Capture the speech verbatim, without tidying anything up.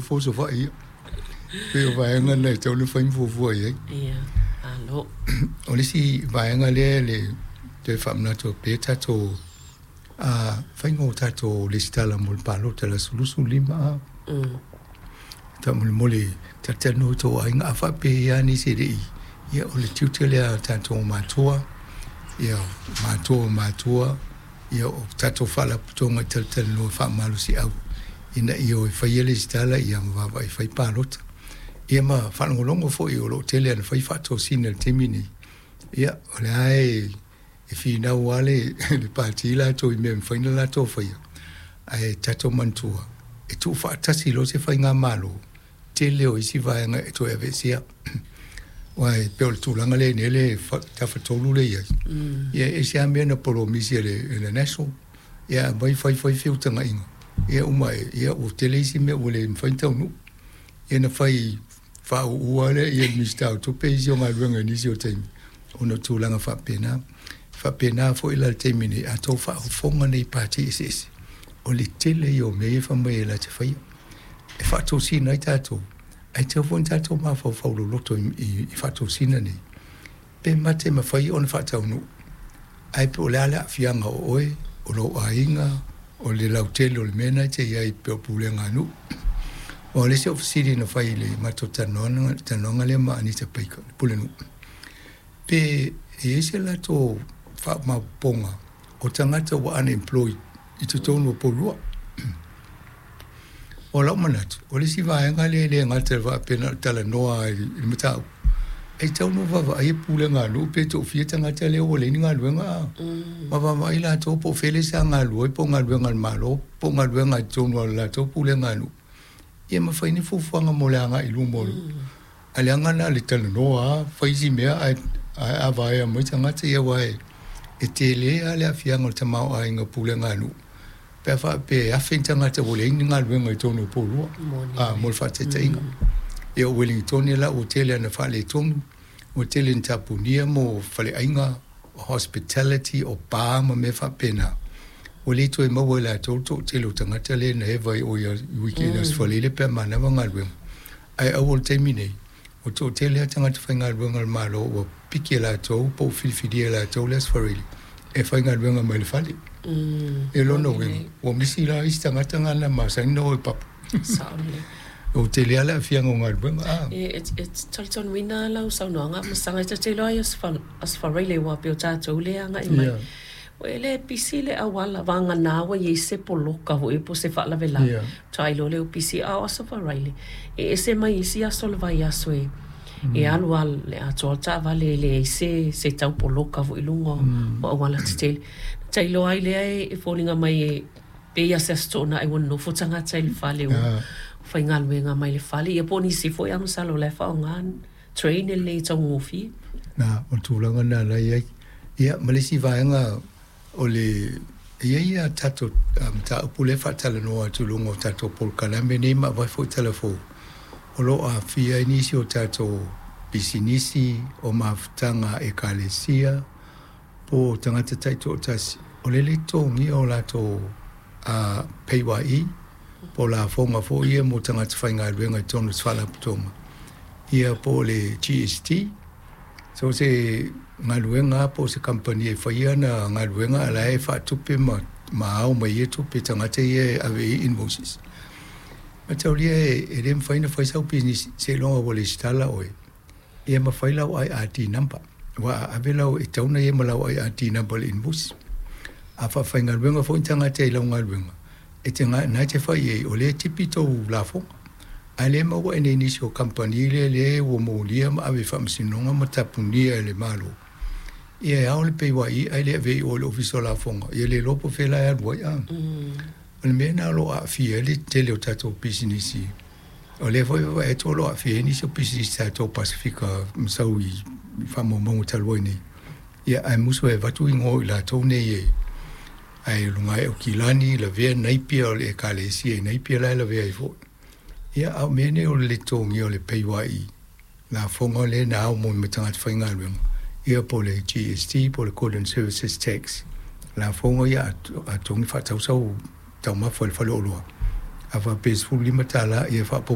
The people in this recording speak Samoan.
nofo Savaii ia. Pei o vaega na e tatau ona fai ma fuafua i ai. Ia, malo. O le isi vaega lea le toe faamanatu pea tatou a faiga o tatou resitala mo le palota i le aso luasefulu lima. Mm. Faamolemole, talatalanoa i tou aiga, a faapea lava nisi e le i, ia, o le tiute lea a tatou matua, ia, matua o matua, ia, o tatou faalapotopotoga e talatalanoa faamalosiau ina ia o e faia le resitala, ia, ma vaavaai e fai palota. Ia ma faalogologo foi o lo o tele ina fai faatosina i le taimi nei. Ia, o lea e e finau lava le le pati latou i mea e mafai ona latou faia, ae tatou manatua e tuufaatasi loa se faigamalo, tele o isi vaega e toe aveesea. Aua e pei o le tulaga lea i nei le tafatolu lea e i ai, ia, e ese lava mea na polomisi e le, e le National, ia aumai fai fai feutagaiga, ia uma ane, ia ua tele isi mea ua le mafai ona taunuu. Ia na fai faauu lea ia le Minisita o Tupe isi o galuega i nisi o taimi ona o tulaga faapena. Faapena foi la le taimi nei, a outou faafofoga nei i pati eseese, o le tele ia o mea ia e fai mai e latou te faia e faatosina ai tatou, ae tatau foi ona tatou mafaufau loloto i, i, i faatosina nei, pe mate mafai ona faataunuu, ae po o le a le aafiaga o oe, o lou aiga, o le lautele o le mea lena e te i ai pei o pulega a nuu. O le isi o fesili na fai i le matou talanoaga talanoaga lea ma Anita Baker, le pulenuu, pe e i ai se latou faamaopoopoga o tagata ua unemployed i totonu o Upolu. O lau manatu, o le isi vaega lea e le gata i le faapea na o le talanoa i le mataupu, e tatau ona vaavaai pulega a nuu pe toafia tagata lea ua leai ni galuega, ma vaavaai latou po o fea lea sa galulue ai, po o galuega a le Malo po o galuega i totonu o le latou pulega a nuu, ia ma fai ni fuafuaga mo le agai i luma o le ae leaga na o le talanoa lava fai isi mea ae ae a vaea mai tagata ia, aua e e tele lava le aafiaga o le tamaoaiga o pulega a nuu pe a faapea e afe ni tagata ua leai ni galuega i totonu o Upolu. A mo le faataitaiga, ia, o Wellington la ua tele ina faaletonu, ua tele ina tapunia mo faleaiga, hospitality, o pa ma mea faapena, ua le toe maua e latou le toatele o tagata lea na eva i o i weekend mm. Aso Faraile pe a manava galuega, ae aua o le taimi nei ua toatele lava tagata faigaluega a le Malo ua piki e latou po ua filifilia e latou le Aso Faraile e faigaluega mai le fale. Mm. E lona uiga ua misi la isi tagata na masani na o i papu. Sao lelei. Ua tele lava le aafiaga o galuega a. E e talitonuina lau saunoaga ma saga e te iloa ai Aso Faraile ua pei o tatou le agai mai. Yeah. Ua e le pisi le auala vagana ua i ai se poloka foi po o se faalavelave. Yeah. Faatoa iloa lea ua pisi, a o Aso Faraile e ese mai isi aso o le vaiaso e e alu lava le atoa le taavale e leai se se tau poloka foi i luga o auala tetele. Na tailoa ai lea e foliga mai e pei lava se Aso Toonai ua nonofo tagata i le fale ua faigaluega mai le fale, ia po o nisi foi lava masalo o la e faaaoga train e lelei e taugofie. Na, o le tulaga lena la e i ai. Ia, ma le isi vaega o le e i ai a tatou mataupu lea e faatalanoa atu i luga o tatou polokalame nei ma avatu foi tala fou, o lo o aafia ai nisi o tatou pisinisi, o mafutaga a ekalesia, po o tagata taitoatasi, o le le totogia o latou P A Y E po o lafoga foi ia mo tagata faigaluega i totonu o se faalapotopotoga, ia, po o le G S T. So se galuega po o se kamupani e faia ana galuega a la e faatupe ma ma ao mai ia tupe tagata ia e ave i ai invoices. Mataulia e le mafai ona fai sau pisinisi seiloga ua resitala oe, ia ma fai lau I R D number, aua a ave lau e tatau ona i ai ma lau I R D number i le invoice. A faafaigaluega foi ni tagata i lau galuega e te na e te fai i ai o lea e tipi tou lafoga, ae le maua e nei nisi o kamupani lea lea ua molia ma ave i faamasinoga ma tapunia e le Malo, ia e ao le P A Y E ae le ave i o i le Ofisa o Lafoga, ia le iloa po o fea la e alu ai a. O le mea lena o lo o aafia ai le tele o tatou pisinisi, o lea foi e vaavaai atu o lo o aafia ai nisi o pisinisi tatou Pasefika masau i faamaumauga talu ai nei, ia, ae musu e avatu igoa o i latou nei e ae luga ae o Kilani lavea Naipia o le ekalesia i Naipia la e lavea ai foi. Ia, a o mea nei o le le totogia o le P A Y E, lafoga lea na ao mo ma tagata faigaluega, ia, po o le G S T po o le Goods and Services Tax, lafoga ia a totogi faatau sau taumafa i le faleoloa, a faapea e sefulu lima tala ia faaopoopo.